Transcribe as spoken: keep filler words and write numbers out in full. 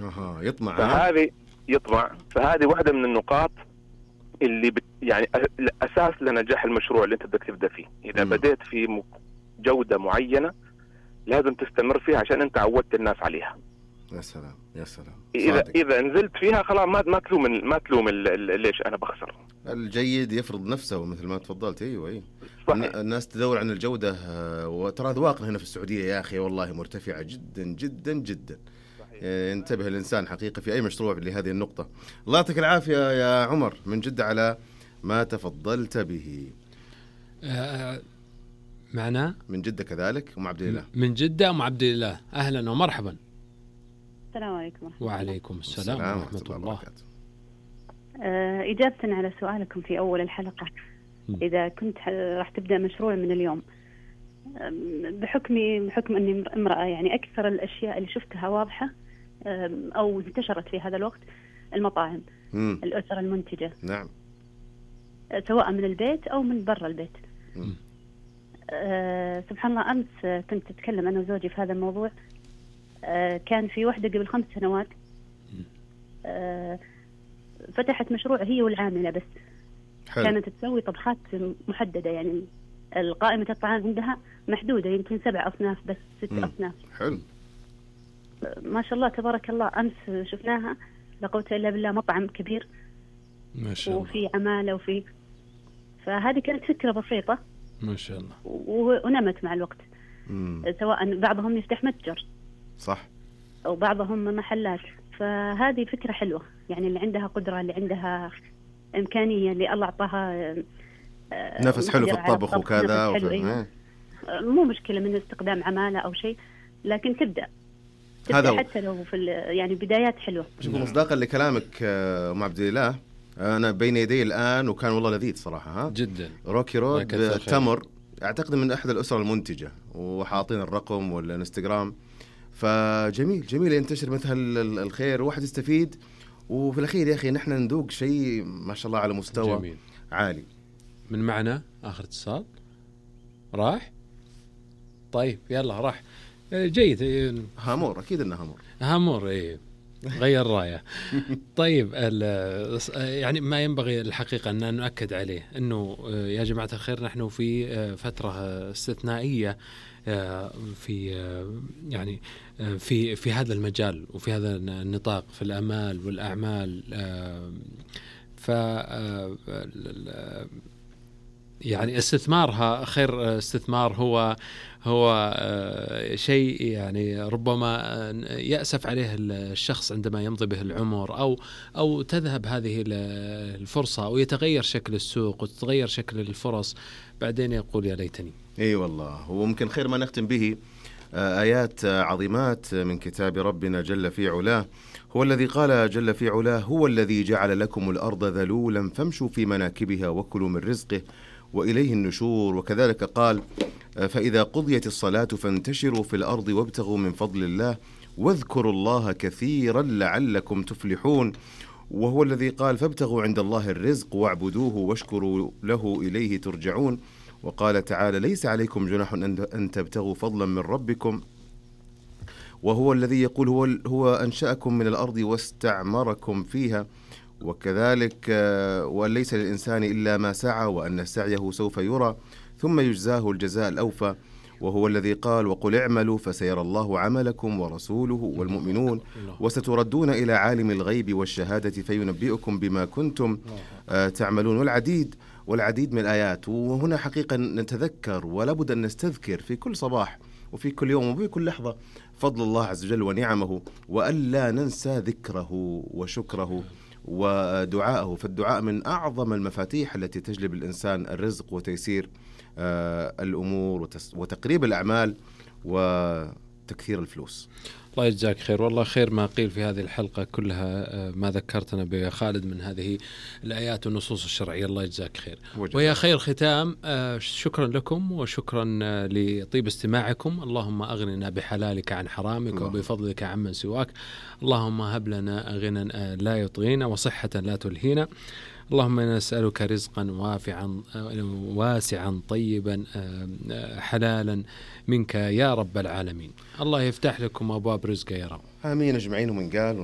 اها يطمع. فهذه يطمع فهذه واحدة من النقاط اللي بت يعني الأساس لنجاح المشروع اللي أنت بدك تبدأ فيه. إذا م. بديت في جودة معينة لازم تستمر فيها عشان أنت عودت الناس عليها. يا سلام يا سلام. إذا إذا نزلت فيها خلاص ما ما تلوم ما تلوم ليش أنا بخسر. الجيد يفرض نفسه مثل ما تفضلت. أيوة أيوة. الناس تدور عن الجودة، وترى ذواقنا هنا في السعودية يا أخي والله مرتفعة جدا جدا جدا. انتبه الإنسان حقيقة في أي مشروع لهذه النقطة. الله يعطيك العافية يا عمر من جدة على ما تفضلت به. آه معنا من جدة كذلك أم عبد الله. من جدة أم عبد الله، أهلا ومرحبا. السلام عليكم. وعليكم السلام ورحمة الله, الله. آه إجابة على سؤالكم في أول الحلقة، م. إذا كنت راح تبدأ مشروع من اليوم، بحكمي بحكم أني امرأة، يعني أكثر الأشياء اللي شفتها واضحة أو انتشرت في هذا الوقت المطاعم، م. الأسر المنتجة. نعم. سواء من البيت أو من برا البيت. أه سبحان الله، أمس كنت أتكلم أنا وزوجي في هذا الموضوع. أه كان في واحدة قبل خمس سنوات أه فتحت مشروع هي والعاملة بس. حلو. كانت تسوي طبخات محددة، يعني القائمة الطعام عندها محدودة، يمكن سبع أصناف بس، ست م. أصناف. حلو. ما شاء الله تبارك الله. أمس شفناها لا قوة إلا بالله، مطعم كبير ما شاء الله، وفي عمالة وفي، فهذه كانت فكرة بسيطة ما شاء الله، ونمت مع الوقت. مم. سواء بعضهم يفتح متجر صح، أو بعضهم محلات. فهذه فكرة حلوة، يعني اللي عندها قدرة، اللي عندها إمكانية، اللي الله أعطاها نفس حلو في الطبخ وكذا وفي... إيه. مو مشكلة من استخدام عمالة أو شيء، لكن تبدأ هذا حتى لو في يعني بدايات حلوة. شوفوا مصداقا لكلامك أم عبد الله، أنا بين يدي الآن وكان والله لذيذ صراحة. ها جدا. روكي رود تمر، أعتقد من أحد الأسر المنتجة، وحاطين الرقم والإنستغرام. فجميل جميل ينتشر مثل الخير، واحد يستفيد، وفي الأخير يا أخي نحن ندوق شيء ما شاء الله على مستوى جميل. عالي. من معنا آخر اتصال راح. طيب يلا راح. جيد. هامور أكيد إنه هامور. هامور إيه غير راية. طيب يعني ما ينبغي الحقيقة أن نؤكد عليه أنه يا جماعة الخير نحن في فترة استثنائية في يعني في في هذا المجال وفي هذا النطاق في الأمال والأعمال. ف يعني استثمارها خير استثمار هو هو شيء يعني ربما يأسف عليه الشخص عندما يمضي به العمر، أو أو تذهب هذه الفرصة، أو يتغير شكل السوق وتتغير شكل الفرص، بعدين يقول يا ليتني. أي والله. وممكن خير ما نختم به آيات عظيمات من كتاب ربنا جل في علاه. هو الذي قال جل في علاه: هو الذي جعل لكم الأرض ذلولا فامشوا في مناكبها وكلوا من رزقه وإليه النشور. وكذلك قال: فإذا قضيت الصلاة فانتشروا في الأرض وابتغوا من فضل الله واذكروا الله كثيرا لعلكم تفلحون. وهو الذي قال: فابتغوا عند الله الرزق واعبدوه واشكروا له إليه ترجعون. وقال تعالى: ليس عليكم جناح أن تبتغوا فضلا من ربكم. وهو الذي يقول: هو, هو أنشأكم من الأرض واستعمركم فيها. وكذلك وليس للإنسان إلا ما سعى وأن سعيه سوف يرى ثم يجزاه الجزاء الأوفى. وهو الذي قال: وقل اعملوا فسيرى الله عملكم ورسوله والمؤمنون وستردون إلى عالم الغيب والشهادة فينبئكم بما كنتم تعملون. والعديد والعديد من الآيات. وهنا حقيقة نتذكر ولا بد أن نستذكر في كل صباح وفي كل يوم وفي كل لحظة فضل الله عز وجل ونعمه، وألا ننسى ذكره وشكره ودعاءه. فالدعاء من أعظم المفاتيح التي تجلب الإنسان الرزق وتيسير آه الأمور وتقريب الأعمال وتكثير الفلوس. الله يجزاك خير. والله خير ما قيل في هذه الحلقة كلها، ما ذكرتنا بخالد من هذه الآيات والنصوص الشرعية. الله يجزاك خير. ويا خير ختام، شكرا لكم وشكرا لطيب استماعكم. اللهم أغننا بحلالك عن حرامك الله. وبفضلك عمن سواك. اللهم هب لنا غنى لا يطغينا وصحة لا تلهينا. اللهم إنا نسألك رزقا وافعا واسعا طيبا حلالا منك يا رب العالمين. الله يفتح لكم أبواب رزق يا رب. آمين أجمعين. ومن قال